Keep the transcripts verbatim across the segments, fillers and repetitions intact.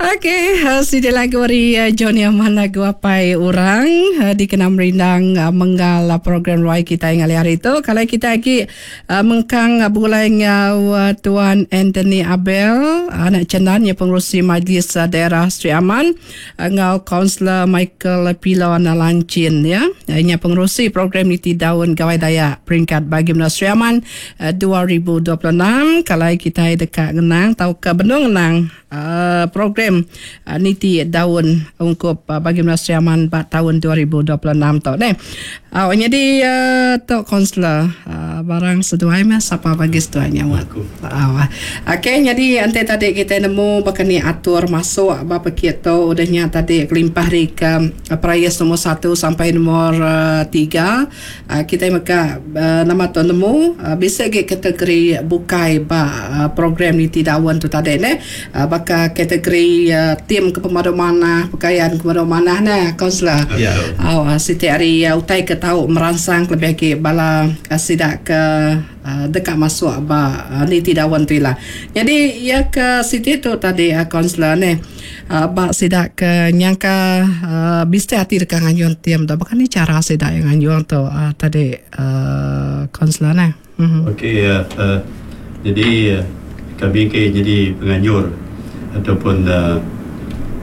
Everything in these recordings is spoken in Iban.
Okey, uh, siti lagu ari uh, Johnny Aman, lagu Apai Orang uh, dikena merindang uh, menggal uh, program ruai kita yang hari itu. Kalau kita lagi uh, mengkang uh, begulai ngau uh, Tuan Anthony Abel, anak Cendan yang pengurusi Majlis uh, Daerah Sri Aman, uh, ngau Kaunselor Michael Pilon Lancin ya. Ini pengurusi program Niti Daun Gawai Dayak peringkat bagi Menua Sri Aman uh, dua ribu dua puluh enam. Kalau kita dekat ngenang tau ke benung ngenang uh, program uh, Niti Daun ungkup uh, bagi Menua Sri Aman bak tahun dua ribu dua puluh enam tu ne. Uh, jadi uh, tok kaunselor uh, barang seduai mah sapa bagi seduai nyawa. Uh, Okey, jadi ante tadi kita nemu bakani atur masuk ba pekit tu udahnya tadi kelimpah ri ke uh, perayas nombor satu sampai nombor uh, tiga. Uh, kita maka uh, nama tu nemu uh, bisa ke kategori bukai ba uh, program Niti Daun tu tadi ne. Uh, baka kategori uh, tim ke pemadu manah, pakaian ke pemadu manah ne kaunselor. Ya. Oh, uh, siti hari uh, utai ke tau merangsang lebih ke bala uh, sidak ke uh, dekat masuk ba uh, Niti Daun tu lah. Jadi ya ke siti tu tadi uh, kaunselor ne uh, ba sidak ke nyangka uh, biste hati dekat nganjuan tiam tu. Bahkan ni cara sidak yang nganjuan tu uh, tadi uh, kaunselor ne. Mm-hmm. Okey, uh, uh, jadi uh, kami ke jadi penganjur ataupun uh,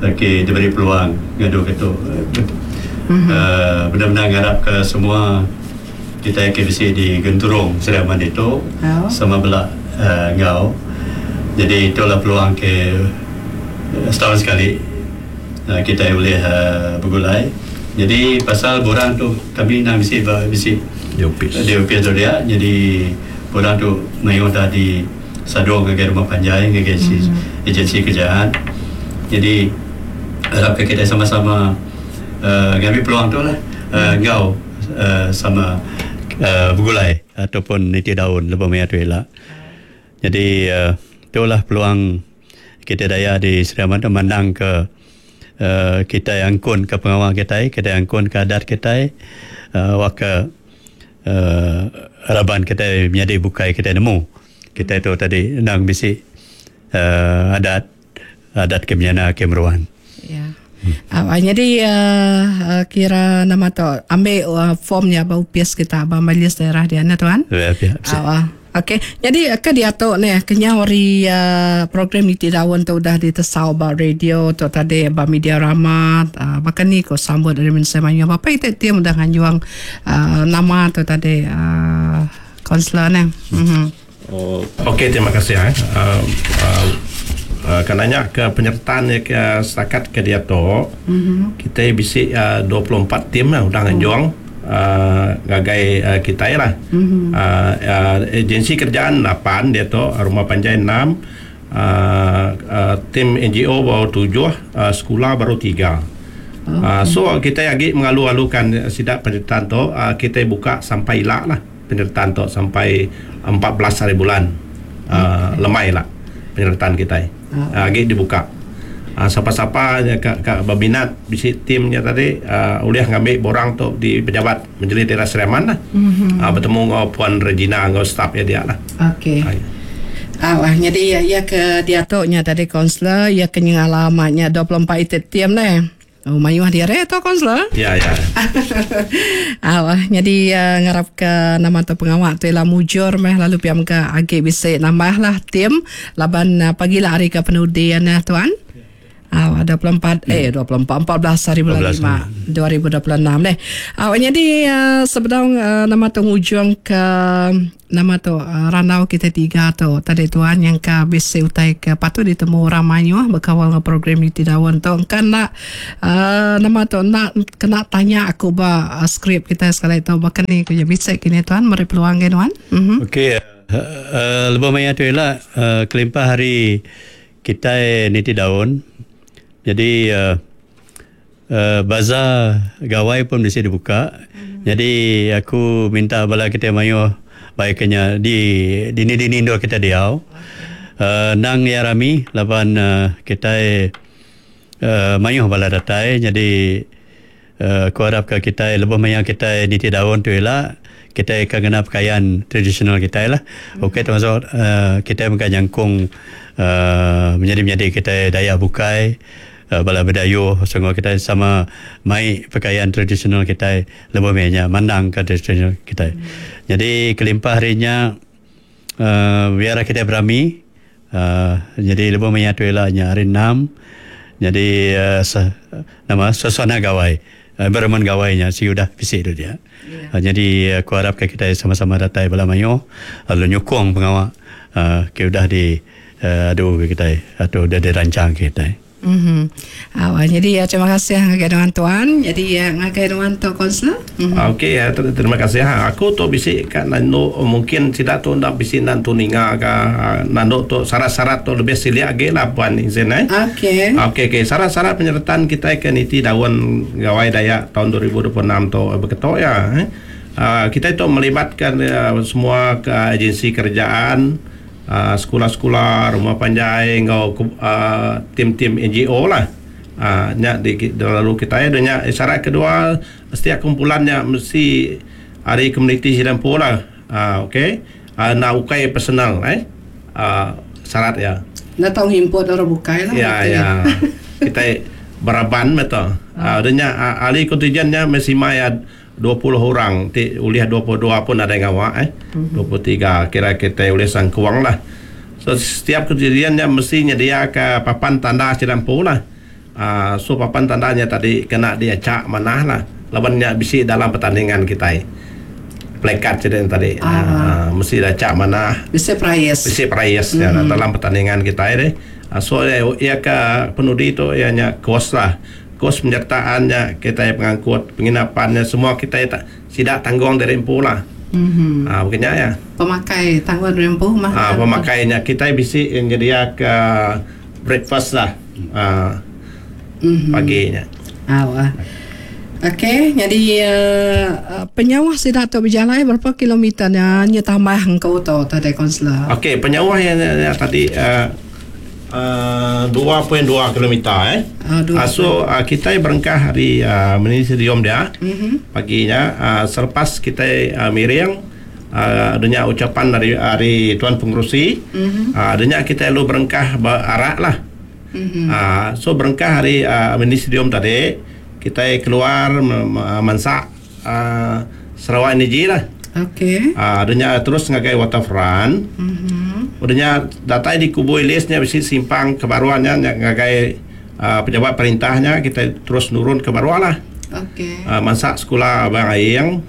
okay, diberi peluang ngadu ke tu. Mm-hmm. Uh, benar-benar ngarap ke semua kita yang K B C di Genturung Sri Aman itu oh. sama belak uh, ngau. Jadi itulah peluang ke uh, setahun sekali uh, kita boleh uh, bergulai. Jadi pasal borang tu kami nak bisi bisi di office. Di office tu dia. Jadi borang tu mayu dah di sadung ke rumah panjang ke agensi, mm-hmm. agensi kerjaan. Jadi harap kita sama-sama uh, ngambil peluang tu lah uh, ngau uh, sama uh, bergulai ataupun niti daun lebih maya tu elak. Jadi uh, itulah peluang kita daya di Sri Aman tu mandang ke uh, kita yang angkun ke pengawal kita, kita yang angkun ke adat kita, uh, waka uh, harapan kita menjadi bukai kita nemu. Kita itu tadi nang bisi uh, adat adat kemiana kemeruan. Ya. Hmm. Uh, jadi uh, uh, kira nama tu ambil uh, formnya bau pias kita ba majlis daerah dia na tuan. Ya, ya. Uh, Okey. Jadi ke dia tu ni kenyawari uh, program Niti Daun tu dah ditesau ba radio tu tadi ba media rama uh, bahkan ni ko sambut dari Mensa Manyu apa itu tiam dah nganjuang uh, nama tu tadi uh, kaunselor ni. Mhm. Oh, okey, terima kasih eh. Uh, uh, Uh, kananya ke penyertaan ya ke setakat ke dia tu mm-hmm. kita bisi uh, dua puluh empat tim lah udah nganjuang uh, gagai uh, kita lah. Mm-hmm. Uh, uh, agensi kerjaan lapan dia tu, rumah panjai enam, uh, uh, tim N G O baru tujuh, uh, sekolah baru tiga. Okay. Uh, so kita lagi mengalu-alukan sidak penyertaan tu, uh, kita buka sampai ilak lah penyertaan tu sampai empat belas hari bulan. Uh, Okay. Lemai lah penyertaan kita. Ah. Uh, lagi dibuka. Uh, siapa-siapa yang ka, ka berminat bisi timnya tadi uh, boleh ngambil borang tu di pejabat Majlis Daerah Sri Aman lah. Mm-hmm. Uh, bertemu dengan Puan Regina dengan staf ya dia lah. Okey. Uh, Ah, wah, jadi ya, ya ke dia tu nya tadi kaunselor ya ke ngalamatnya dua puluh empat item tim ne. Oh, mayuh dia re tu kaunselor. Ya, ya. Ah, wah, jadi uh, ngarap ke nama tu pengawak tu ialah mujur meh lalu piam ke agi bisa nambah lah tim laban uh, pagilah hari ke penudian uh, tuan. Ah, dua puluh empat hmm. eh dua puluh empat, empat belas hari bulan lima dua ribu dua puluh enam deh. Ah, jadi uh, sebelum uh, nama tu ujung ke nama tu uh, ranau kita tiga tu tadi tuan yang ke bisi utai ke patut ditemu orang mayuh berkawal dengan program Niti Daun tu kan nak uh, nama tu nak kena tanya aku ba uh, skrip kita sekali tu bahkan ni kerja bisik kini tuan meri peluang ke tuan. Mm-hmm. Okey, uh, uh, lebih maya tu ialah uh, kelimpah hari kita Niti Daun. Jadi uh, uh, bazar gawai pun mesti dibuka. Hmm. Jadi aku minta bala kita mayu baiknya di di ni di nindo kita diau. Uh, nang ya rami laban uh, kita uh, mayu bala datai. Jadi uh, aku harap ke kita lebih maya kita Niti Daun tu ialah kita akan kena pakaian tradisional kita lah. Hmm. Okey, termasuk uh, kita bukan jangkung uh, menjadi-menjadi kita Dayak Bukai, uh, bala Bedayo, semua kita sama mai pakaian tradisional kita lebih banyak mandang ke tradisional kita. Hmm. Jadi kelimpah harinya uh, biar kita berami, uh, jadi lebih banyak tu ialah hari enam. Jadi uh, se, nama suasana gawai, uh, environment gawainya si udah bisik tu dia. Yeah. Uh, jadi aku harap kita sama-sama datai bala mayo lalu nyukung pengawak uh, ke udah di uh, adu kita atau udah dirancang kita. Mhm. Uh, jadi ya, terima kasih ngagai dengan tuan. Jadi ya ngagai dengan tu konselor. Mm-hmm. Okey ya, terima kasih. Ha, aku tu bisik kat nando mungkin tidak tu ndak bisik nan tu ninga ka nando tu syarat-syarat tu lebih silia lagi lah puan izin eh. Okey. Okey okey, syarat-syarat penyertaan kita ke niti daun gawai Dayak tahun dua ribu dua puluh enam tu berketok ya. Eh. Uh, kita itu melibatkan uh, semua ke agensi kerajaan, Uh, sekolah-sekolah, rumah panjai, ngau uh, tim-tim N G O lah. Uh, nyak di, di lalu kita ya, dan syarat kedua setiap kumpulannya mesti hari komuniti Sidampu lah. Uh, okey. Uh, nak ukai personal eh. Uh, syarat ya. Nak tahu import orang bukai lah. Ya ya. Kita beraban betul. Uh, dan uh, ahli kontingennya mesti maya dua puluh orang, ti uliah dua puluh dua pun ada yang awak eh. Mm-hmm. dua puluh tiga kira kita uliah sangkuang lah. So setiap kejadiannya mesti nyedia ke papan tanda Sidampu lah. Uh, so papan tandanya tadi kena dia cak manah lah. Lawannya bisi dalam pertandingan kita. Plekat cerita tadi. Ah. Uh, mesti dah cak manah. Bisi prize. Bisi prize mm-hmm. ya, dalam pertandingan kita eh. Uh, so ya, ya ke penudi tu ianya kos lah. Kos penyertaannya, kita yang pengangkut, penginapannya, semua kita tak tidak tanggung dari empu lah. Mm-hmm. Ha, bukannya ya. Pemakai tanggung dari empu mah. Ha, pemakainya kita bisi yang jadi ke breakfast lah. Ha, mm-hmm. paginya. Ah, wah. Okey, jadi uh, penyawah sudah tu berjalan berapa kilometernya nya tambah engkau tu tadi konselor. Okey, penyawah yang, yang tadi uh, Uh, dua perpuluhan dua kilometer eh. Uh, uh, so uh, kita berangkat hari uh, Ministerium dia mm-hmm. paginya uh, selepas kita uh, miring uh, adanya ucapan dari hari tuan pengerusi mm-hmm. uh, adanya kita lalu berangkat berarak lah. Mm-hmm. Uh, so berangkat hari uh, Ministerium tadi kita keluar mansak uh, Sarawak Energy lah. Okey. Uh, adanya terus ngagai waterfront. Mm-hmm. Udahnya datai di kubu Ilisnya bisi simpang kebaruannya ngagai uh, pejabat perintahnya kita terus nurun ke baruan lah. Okey. Uh, masak sekolah Abang Aing.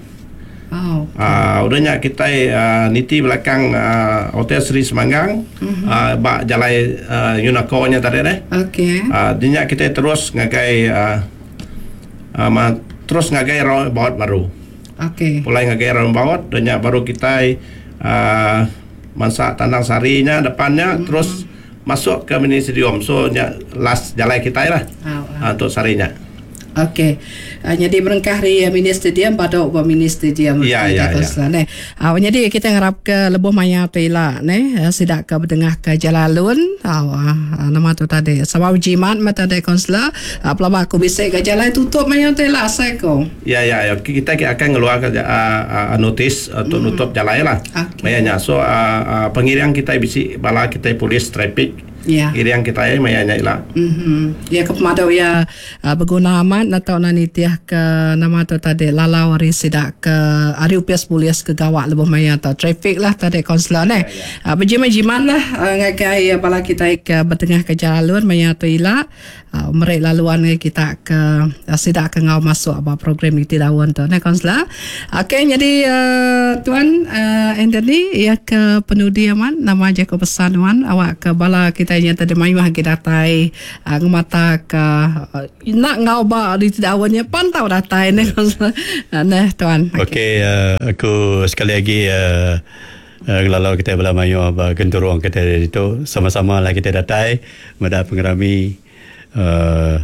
Oh. Okay. Uh, udahnya kita uh, niti belakang uh, Hotel Seri Semanggang. Mm-hmm. Uh, bak jalai uh, Yunako-nya tadi deh. Okey. Uh, dinya kita terus ngagai uh, uh, ma- terus ngagai roundabout baru. Okey. Mulai ngagai roundabout udahnya baru kita uh, masak Tandang Sarinya depannya mm-hmm. terus masuk ke Ministerium. So nya last jalan kita lah oh, oh. untuk sarinya. Okey. Uh, jadi berengkah di mini stadium pada uba mini stadium. Ya ya ya. Ne. Uh, jadi kita harap ke lebuh maya tu ila ne sidak ke bertengah ke Jalalun. Uh, uh, nama tu tadi. Sebab jimat mata tadi konselor, uh, pelaba aku bisik ke jalan tutup maya tu ila asal ko. Ya ya ya kita akan ngeluarkan uh, uh, notis untuk mm. nutup jalan lah. Okay. Mayanya. So uh, uh, pengiring kita bisik bala kita polis trafik. Ya. Iriang kita ya mayanya ila. Mhm. Ya ke pemadau ya uh, berguna amat atau nanitiah ke nama tu tadi lalau hari sidak ke hari upias polis ke gawak lebih maya atau trafik lah tadi konselor ne. Ya, ya. Uh, berjimat-jimat lah uh, ngagai uh, bala kita ke bertengah ke jalan maya tu ila uh, merek laluan kita ke uh, sidak ke ngau masuk apa program itu daun tu ne konselor. Okey jadi uh, tuan uh, Anthony ya ke penudi aman nama Jacob pesan wan awak ke bala kita yang tadi mayu hagi datai uh, ngemata ke uh, nak ngau ba di tidak awalnya pantau datai ne nah tuan. Okey okay, uh, aku sekali lagi uh, uh, lalau kita bala mayu ba genturung kita itu sama-sama lah kita datai meda pengerami uh,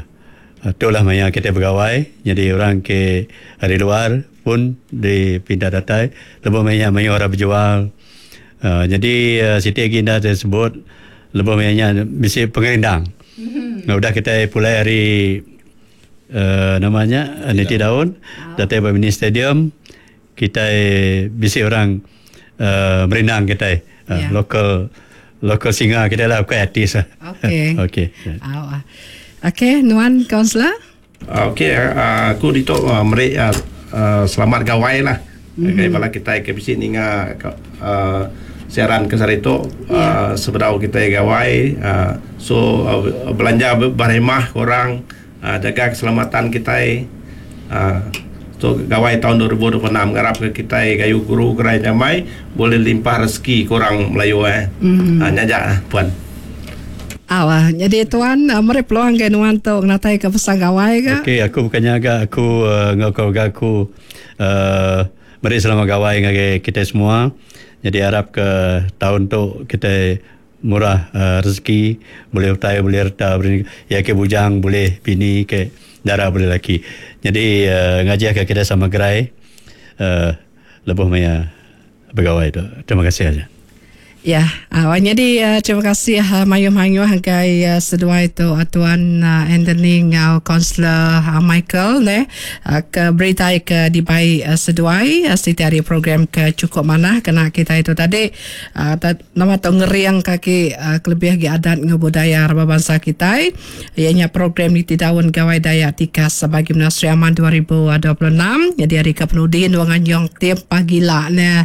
itulah maya kita bergawai jadi orang ke hari luar pun dipindah datai lebih maya mayu orang berjual uh, jadi uh, Siti Aginda tersebut lebih banyaknya mesti pengerindang. Mm-hmm. Nah, udah kita pulai hari uh, namanya niti daun, Oh. datang ke mini stadium, kita bisi orang uh, merindang kita uh, Yeah. local Local singer kita lah, bukan artis lah. Okey. Okey. Ah. Okey, nuan kaunselor? Okey, uh, aku ditu uh, meri uh, uh, selamat gawai lah. Mm-hmm. Kai bala kita ke bisi ninga uh, siaran ke sehari tu yeah. uh, sebedau kita gawai uh, so uh, belanja berhemah korang, uh, jaga keselamatan kita. Uh, so gawai tahun dua ribu dua puluh enam ngarap ke kita gayu guru gerai nyamai boleh limpah rezeki korang Melayu eh. Mm-hmm. Uh, nyajak puan. Awah, jadi tuan uh, meri peluang ke nuan tu ngatai ke pesan gawai ke? Okey, aku bukannya agak aku uh, ngau keluarga aku uh, meri selamat gawai ngagai kita semua. Jadi harap ke tahun tu kita murah uh, rezeki, boleh utai, boleh harta, boleh ya ke bujang, boleh bini ke darah boleh laki. Jadi uh, ngajar ke kita sama gerai uh, lebuh maya bergawai tu. Terima kasih aja. Ya, uh, jadi uh, terima kasih uh, mayu-mayu hanggai uh, seduai tu uh, Tuan uh, Anthony ngau Kaunselor uh, Michael ne uh, ke berita ke dibai uh, seduai uh, siti hari program ke cukup manah kena kita itu tadi uh, ta, nama tu ngeriang kaki uh, kelebih gi adat ngau budaya raba bangsa kita ianya program ni Daun Gawai Dayak Tikas sebagai Menara Sri Aman dua ribu dua puluh enam. Jadi hari ke penudin wangan yong tiap pagi lah ne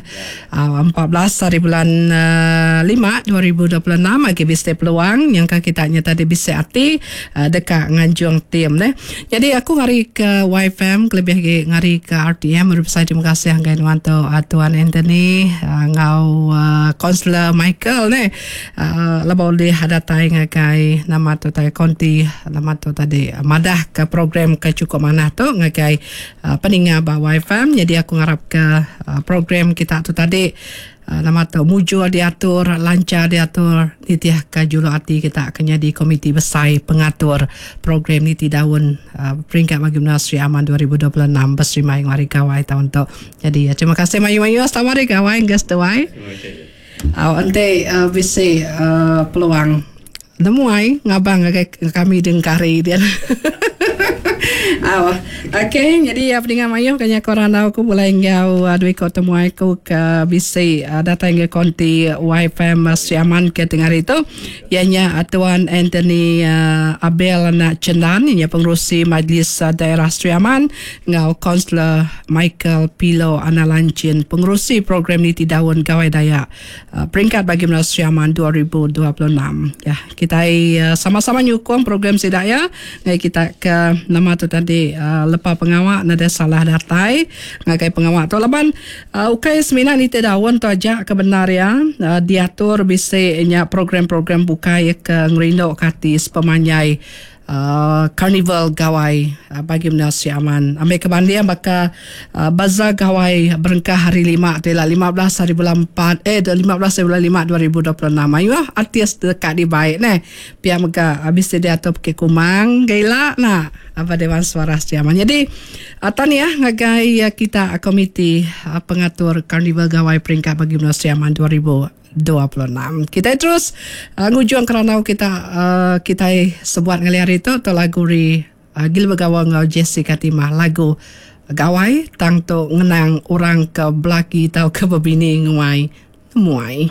uh, empat belas hari bulan uh, lima dua ribu dua puluh enam agi bisi peluang yang kita nya tadi bisi ati uh, dekat nganjung tim ne. Jadi aku ngari ke Y F M kelebih lagi ngari ke R T M berbesar terima kasih hanggai nuan tu uh, Tuan Anthony uh, ngau uh, Kaunselor Michael ne uh, lebau boleh datai ngagai nama tu tai konti nama tu tadi uh, madah ke program ke cukup manah tu ngagai uh, peninga ba Y F M. Jadi aku ngarap ke uh, program kita tu tadi Uh, nama tu mujur diatur, lancar diatur, nitiah ke julu hati kita akan jadi komiti besar pengatur program niti daun uh, peringkat bagi Menara Sri Aman dua ribu dua puluh enam berserima yang hari gawai tahun tu. Jadi uh, terima kasih mayu-mayu selamat hari gawai guys tuai. Uh, nanti uh, bisi uh, peluang nemuai ngabang ke kami dengkari dia. Aw, okey, jadi ya pendengar mayu kanya korang tahu aku boleh ngau uh, dua ikut temuai aku ke bisi uh, datang ke konti Y F M Sri Aman ke tengah hari itu ianya uh, Tuan Anthony uh, Abel anak Cendan ianya pengerusi Majlis uh, Daerah Sri Aman ngau Kaunselor Michael Pilo anak Lancin pengerusi program Niti Daun Gawai Dayak uh, peringkat bagi Menara Sri Aman dua ribu dua puluh enam. Ya, kita uh, sama-sama nyukung program sidak ya. Ngai kita ke nama tu tadi uh, lepa pengawak nada salah datai ngagai pengawak tu laban uh, ukai semina ni daun tu aja kebenar ya uh, diatur bisi nya program-program bukai ke ngerindo kati sepemanjai Uh, Karnival Gawai uh, bagi Menara Sri Aman. Ambil kebandian baka uh, Bazar Gawai berengkah hari lima tu lah lima belas hari bulan empat eh lima belas hari bulan lima dua ribu dua puluh enam. Ayo artis dekat di baik ne. Pia mega habis dia atur pergi Kumang gaila nak apa Dewan Suara Sri Aman. Jadi uh, tahniah ngagai uh, kita uh, komiti uh, pengatur Karnival Gawai peringkat bagi Menara Sri Aman dua ribu dua puluh enam. Kita terus uh, ngujuang kerana kita uh, kita sebuat ngali hari itu tu lagu ri uh, Gil Begawa ngau Jessica Timah lagu Gawai tang tu ngenang orang ke belaki tau ke bebini nguai muai.